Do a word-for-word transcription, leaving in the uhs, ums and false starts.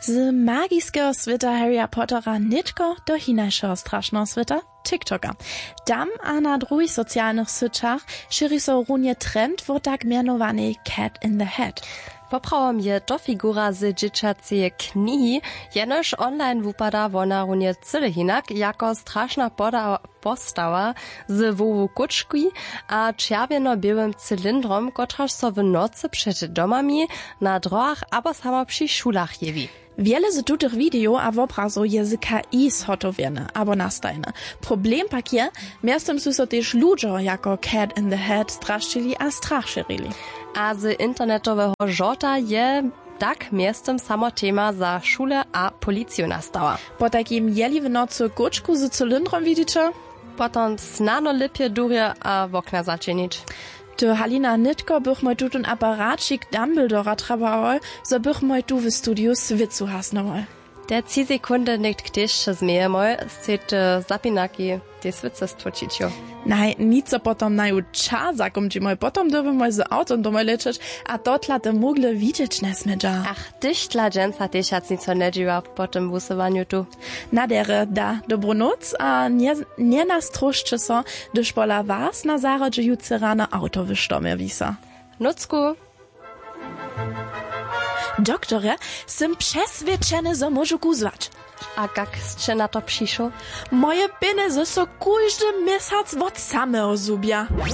Z magiskeho swěta Harry'a Pottera nětko do hinašeho strašneho swěta, TikToka. Tam a na druhich socialnych syćach šěri so runje trend wo tak mjenowanej Cat in the Hat. Poprawom je to figura z dźěćaceje knihi, jenož online wupada wona runje cyle hinak jako strašna poda- postawa z hłowu kóčki a čerwjeno-běłym cylindrom, kotraž so w nocy před domami, na dróhach abo samo při šulach jewi. Wjele z tutych widejow a wobrazow je z K I zhotowjene abo nastajene. Problem pak je, mjeztym su so tež ludźo jako Cat in the Hat strasćili a strach šěrili. A z internetoweho žorta je tak mjeztym samo tema za šule a policiju nastała. Potajkim jeli w nocy kóčku z cylindrom widiće, potom snano lěpje durje a wokna začinić. Ty, Halina, nětko bychmoj tutón aparaćik Dumbledora trjebałoj, zo bychmoj tu w studiju swěcu hasnowoj. Te tři sekundy někt tež změjemoj, sej ty zapinaki tej swěcy stłóčić jo. Naj, nic zo potom naju čas zakómčimoj, potom dyrbymoj z awtom domoj lěćeć, a to tla te mugle widźeć njesmědźa. Ach, hdyž tla dźensa tež hac nic njedźiwa po tym wusyłanju tu. Na derje da dobru nóc a nje-, njenastróšće so, hdyž pola was na zahrodźe jutře rano awto w štomje wisa. Nócku. Doktorje, sym přeswědčeny, zo móžu kuzłać. A kak sće na to přišoł? Moje pjenjezy so kóždy měsac wot sameho zhubja.